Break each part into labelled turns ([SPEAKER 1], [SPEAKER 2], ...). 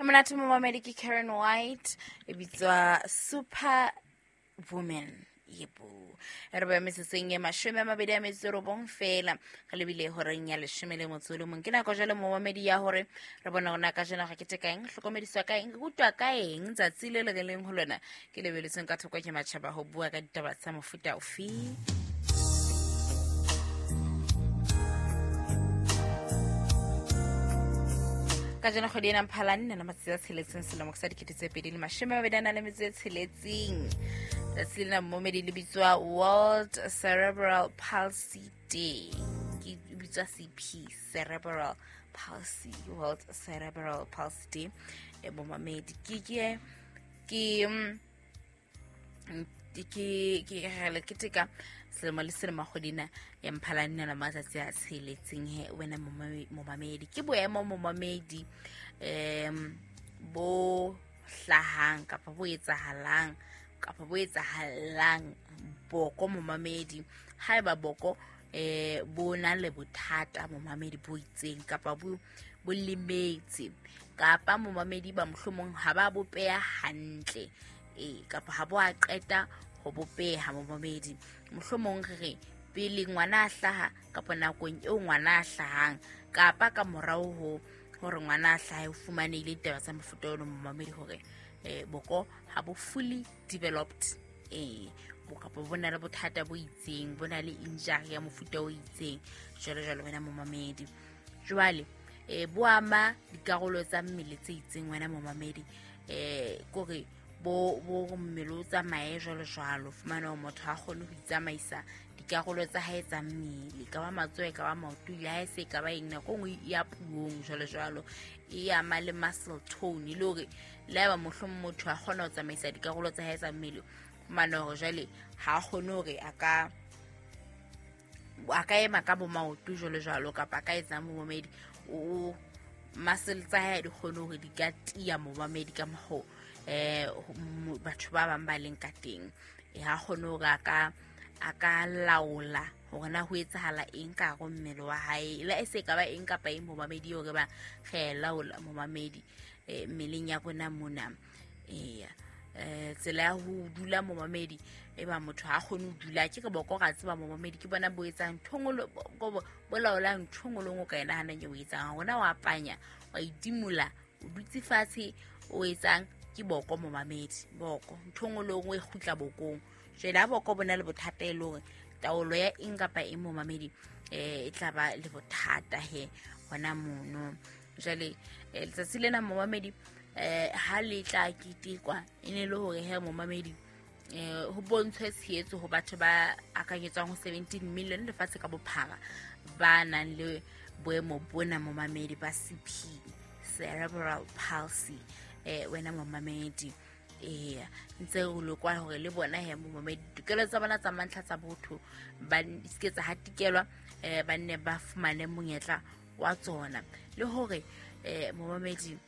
[SPEAKER 1] Monate momamedi ke Karen White e bitswa Super Woman. Yebo, re ba metsotsong e 29 fela re lebile horeng ya 11. Ke nako jalo momamedi ya hore re bona gona ka jena ga ke teka eng, hlokomediswa ka eng, re rutwa ka eng tsatsi le le re leng ho lona ke lebeletsweng ka thoko ke matjhaba ho bua ka ditaba tsa mofuta ofe. Ka jeno kgwedi ena Mphalane nna matsatsi a 6 selemo sa 2026. Tsatsi lena momedi le bitswa World Cerebral Palsy Day. Ke bitswa CP, Cerebral Palsy, World Cerebral Palsy Day. E momamedi ke ke ke ke ke re ke teka selemo le selemo kgwedina ya Mphalane la matsatsi a 6 he wena momamedi. Ke boemo momamedi bo hlahang kapa bo etsahalang kapa bo etsahalang boko momamedi. Haeba boko bo na le bothata momamedi bo itseng kapa bo lemetse kapa momamedi ba mohlomong ha ba bopeha hantle kapa ha bo a qeta ho bopeha momamedi. Mohlomong re re pele ngwana a hlaha kapa nakong eo ngwana a hlahang kapa ka morao ho hore ngwana a hlahe o fumanehile ditaba tsa mofuta ono momamedi hore boko ha bo fully developed, kapa bo na le bothata bo itseng, bo na le injury ya mofuta o itseng jwalo jwalo wena momamedi. Jwale bo ama dikarolo tsa mmele tse itseng wena momamedi, kore bo mmele o tsamaye jwalo jwalo, fumana hore motho ha kgone ho itsamaisa dikarolo tsa hae tsa mmele, ka ba matsoho, ka ba maoto, le ha e se ka ba eng, nako nngwe ya puong jwalo jwalo, e ama le muscle tone, le hore le haeba mohlomong motho a kgona ho tsamaisa dikarolo tsa hae tsa mmele, fumana hore jwale ha a kgone hore a ka ema ka bo maoto jwalo jwalo, kapa a ka etsang momamedi, o muscle tsa hae di kgone hore di ka tiya momamedi ka mokgo batho ba bang ba leng ka teng. Ha kgone hore a ka laola hore na ho etsahala eng ka hare mmele wa hae, le se ka ba eng kapa eng momamedi hore ba re laola momamedi mmeleng ya rona mona. Tsela ya ho dula momamedi, e ba motho ha kgone ho dula, ke re boko ra tseba momamedi ke bona bo etsang nthongolo bo laolang nthongolong o ka e nahanang e o etsang, hona wa panya wa itimola o dutse fatshe o etsang ke boko momamedi, boko nthongolong o e kgutla bokong. Jwale ha boko bona le bothata e le hore taolo ya eng kapa eng momamedi e tla ba le bothata he hona mono. Jwale letsatsi lena momamedi ha le tla ketekwa e ne le hore he momamedi ho bontshwe tshehetso ho batho ba akanyetswang ho 17 million lefatshe ka bophara ba nang le boemo bona momamedi ba CP, cerebral palsy, wena momamedi. Ntse o lokwa hore le bona he momamedi ditokelo tsa bona tsa mantlha tsa botho ba se tsa hatikelwa, ba nne ba fumane monyetla wa tsona, le hore momamedi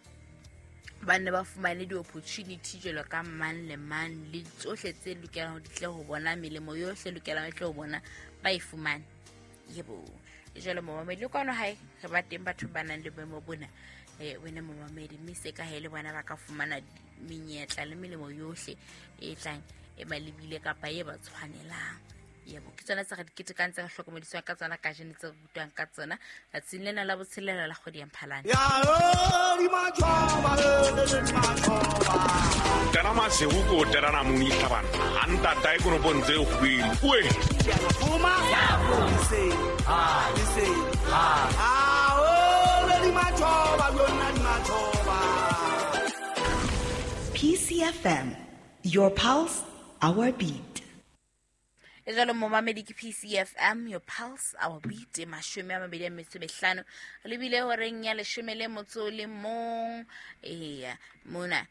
[SPEAKER 1] ba nne ba fumane di-opportunity jwalo ka mang le mang, le tsohle tse lokelang ho di tle ho bona, melemo yohle lokelang e tle ho bona ba e fumane. Yebo, jwale momamedi le kwano hae re ba teng batho ba nang le boemo bona, wena momamedi, mme se ka hae le bona ba ka fumana menyetla le melemo yohle e tlang e ba lebile kapa e ba tshwanelang. Yebo, ke tsona tse re di ketekang, tse re hlokomediswang ka tsona kajeno, tse re rutwang ka tsona tsatsing lena la botshelela la kgwedi ya Mphalane.
[SPEAKER 2] Tena masihu ko tena muni tlhabana a ntata e konopong tse kgwedi oe.
[SPEAKER 3] PCFM, your pulse, our beat.
[SPEAKER 1] E jalo momamedi ke PCFM, your pulse, our beat, 25 lebile horeng ya 11. Mona